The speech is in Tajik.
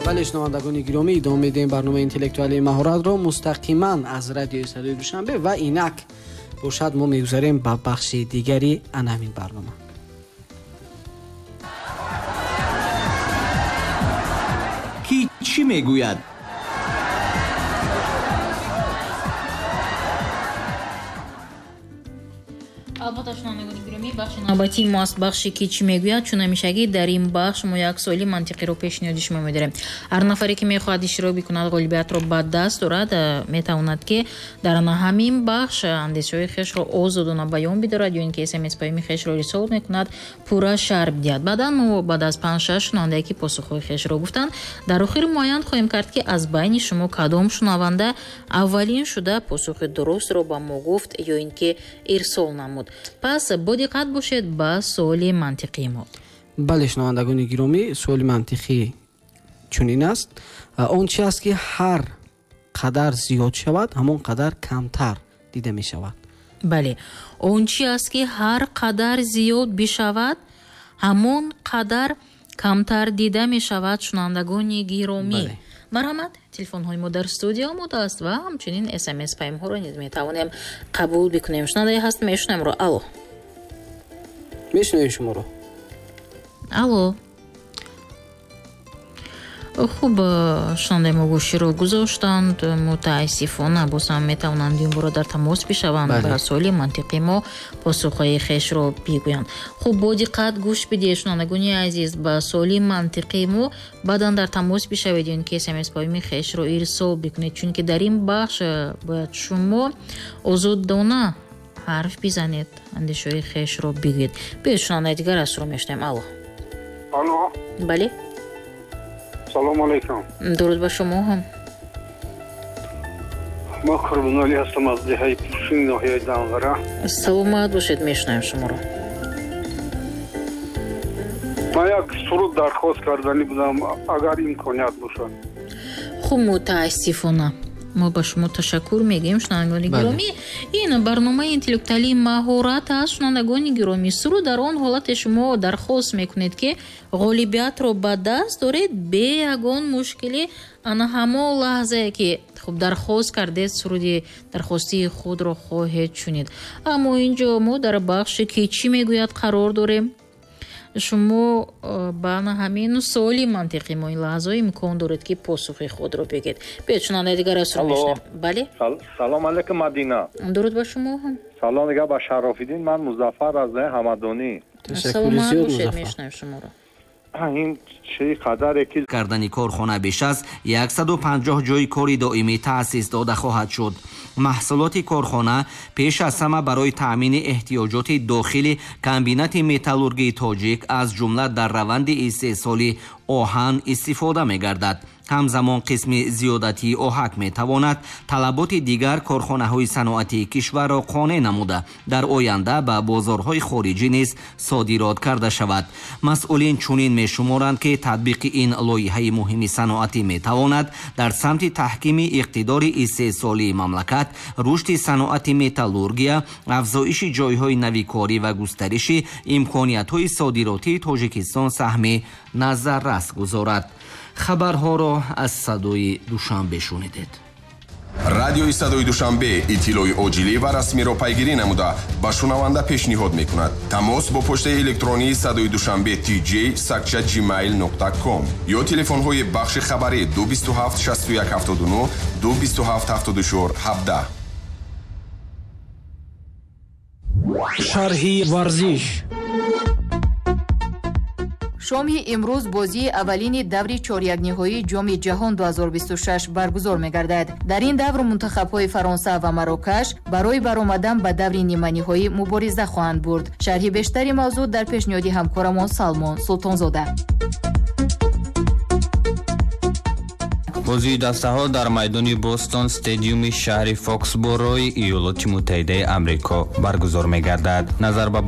Бале, шунавандагони гиромӣ, идома медиҳем барномаи интеллектуалии маҳоратро мустақиман аз радиои Садои Душанбе ва инак бошад мо мегузарем ба бахши дигари ана ҳамин барнома. Ки чӣ мегӯяд? Албатта, шунавандагони гиромӣ, бахши навбатии мо аст бахши ки чӣ мегӯяд. Чун ҳамешагӣ дар ин бахш мо як суоли мантиқиро пешниҳоди шумо медорем. Ҳар нафаре ки мехоҳад иштирок бикунад, ғолибиятро ба даст дорад, метавонад ки дар ҳамин бахш андешаҳои хешро озодона баён бидорад ё ин ки смс паёми хешро ирсол мекунад, пурра шарҳ бидиҳад. Баъдан мо баъд аз 5-6 шунавандае ки посухҳои хешро гуфтанд, дар охир муайян хоҳем кард, ки аз байни шумо кадом шунаванда аввалин шуда посухи дурустро ба мо гуфт ё ин ки ирсол намуд. Пас бо диққат бошед ба суоли мантиқии мо. Бале, шунавандагони гиромӣ, суоли мантиқӣ чунин аст: он чи аст ки ҳар қадар зиёд шавад, ҳамон қадар камтар дида мешавад. Бале, он чи аст ки ҳар қадар зиёд бишавад, ҳамон қадар камтар дида мешавад. Шунавандагони гиромӣ, марҳамат, телефонҳои мо дар студия омода аст ва ҳамчунин смс паёмҳоро низ метавонем қабул бикунем. Шунавандае ҳаст, мешунавемро. Алло, мешунавем шуморо. Алло. Хуб, шунавандаи мо гӯширо гузоштанд. Мутаассифона, боз ҳам метавонанд димборо дар тамос бишаванд ба суоли мантиқи мо посухҳои хешро бигӯянд. Хуб, бо диққат гӯш бидиҳед, шунавандагони азиз, ба суоли мантиқи мо, баъдан дар тамос бишавед ё ин ки смс паёми хешро ирсол бикунед, чунки дар ин бахш бояд шумо озодона ҳарф бизанед, андешаҳои хешро бигӯед. Биёед, шунавандаи дигар аз шуро мешунавем. Алло. Алло. Бале. Салом алейкум. Дуруд ба шумо ҳам. Ма Қурбоналӣ ҳастам аз деҳаи Пуршини ноҳияи Данғара. Саломат бошед, мешунавем шуморо. Ман як суруд дархост карданӣ будам, агар имконият бошад. Хуб, мутаассифона мо ба шумо ташаккур мегӯем, шунавандагони гиромӣ. Ин барномаи интеллектуалии маҳорат аст, шунавандагони гиромӣ. Суруд дар он ҳолате шумо дархост мекунед, ки ғолибиятро ба даст доред бе ягон мушкилӣ. Ана ҳамон лаҳзае ки хуб дархост кардед, суруди дархостии худро хоҳед шунид. Аммо инҷо мо дар бахше ки чӣ мегӯяд қарор дорем. Шумо ба ҳамин суоли мантиқи мо ин лаҳзаҳо имкон доред, ки посухи худро бигед. Биёед, шунавандаи дигар аз шумо мешунавем. Бале. Салом алейкум, Мадина. Дуруд ба шумо ҳам. Салом дигар ба Шарофиддин. Ман Музаффар аз Ҳамадонӣ. Саломат бошед, мешунавем шуморо. Ин чӣ қадаре ки кардани корхона беш аз 150 ҷойи кори доимӣ таъсис дода хоҳад шуд. Маҳсулоти корхона пеш аз ҳама барои таъмини эҳтиёҷоти дохили комбинати металлургии тоҷик, аз ҷумла дар раванди истеҳсоли оҳан истифода мегардад. Ҳамзамон қисми зиёдатии оҳак метавонад талаботи дигар корхонаҳои саноатии кишварро қонеъ намуда, дар оянда ба бозорҳои хориҷӣ низ содирот карда шавад. Масъулин чунин мешуморанд, ки татбиқи ин лоиҳаи муҳими саноатӣ метавонад дар самти таҳкими иқтидори истеҳсолии мамлакат, рушди саноати металлургия, афзоиши ҷойҳои нави корӣ ва густариши имкониятҳои содиротии Тоҷикистон саҳми назаррас гузорад. Хабарҳоро аз Садои Душанбе шунидед. Радиои Садои Душанбе иттилои оҷилӣ ва расмиро пайгирӣ намуда ба шунаванда пешниҳод мекунад. Тамос бо почтаи электронии Садои Душанбе tj сакча gmail com ё телефонҳои бахши хабарӣ 227 61 79 227 74 17. Шарҳи варзиш. Шоми имрӯз бозии аввалини даври чорякниҳоии Ҷоми ҷаҳон 2026 баргузор мегардад. Дар ин давр мунтахабҳои Фаронса ва Марокаш барои баромадан ба даври ниманиҳоӣ мубориза хоҳанд бурд. Шарҳи бештари мавзӯъ дар пешниҳоди ҳамкорамон Салмон Султонзода. Бозии дастаҳо дар майдони Бостон стадиуми шаҳри Фоксборои Иёлоти Муттаҳидаи Амрико баргузор мегардад. Назар ба